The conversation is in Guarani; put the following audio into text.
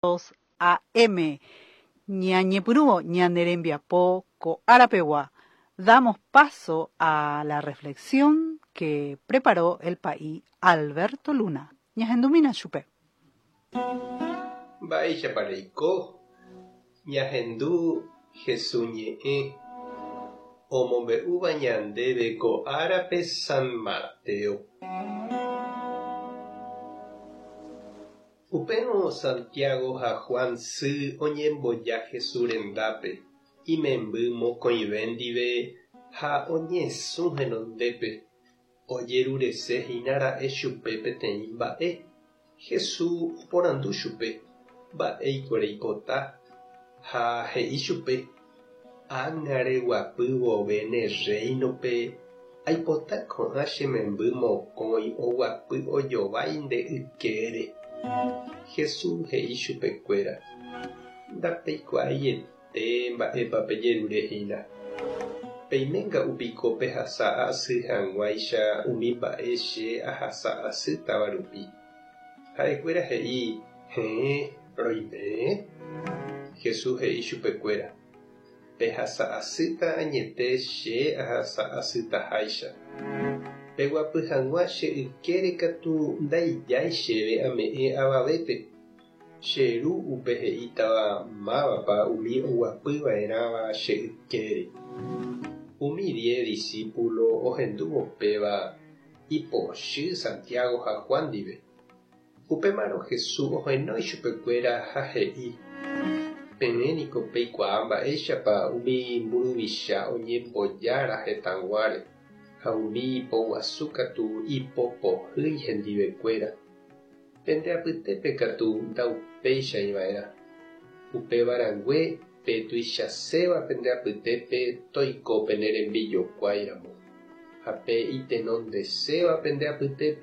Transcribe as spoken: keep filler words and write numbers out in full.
A M. Ñañepyrũvo ñane rembiapo ko árapegua. Damos paso a la reflexión que preparó el pa'i Alberto Luna. Ñahendumína chupe. Mba'éichapa reiko ñahendu Jesús ñe'ẽ omombe'úva ñandéve ko árape San Mateo. Upérõ Santiago ha Juan sy oñemboja Jesús rendápe imemby mokõive ndive ha oñesũ henondépe ojeruresehína ra'e chupe peteĩ mba'e. Jesús oporandu chupe mba'éiko reipota ha he'i chupe ág̃a reguapy vove ne reinope aipota ko'ã che memby mokõi oguapy ojovái nde ykére. Jesús he'i chupekuéra ndapeikuaaiete mba'épa pejerurehína. Peiménga'upiko pehasa asy hag̃uáicha umi mba'e che ahasa asýtava rupi. Ha'ekuéra he'i héẽ roime. Jesús he'i chupekuéra pehasa asýta añete che ahasa asytaháicha. Peguapy hag̃ua che ykére katu ndaijái chéve ame'ẽ avavépe. Che ru upe he'ítava mávapa umi oguapyva'erãva che ykére. Umi diez discípulo ohendúvo péva ipochy Santiago ha Juan ndive. Upémarõ Jesús ohenói chupekuéra ha he'i peẽniko peikuaa mba'éichapa umi mburuvicha oñembojára hetãguáre ha umi poguasu katu ipopohýi hendivekuéra. Pende apytépe katu ndaupéichaiva'erã. Upéva rangue pe tuichaséva pende apytépe toiko pene rembijokuáiramo ha pe itenondeséva pende apytépe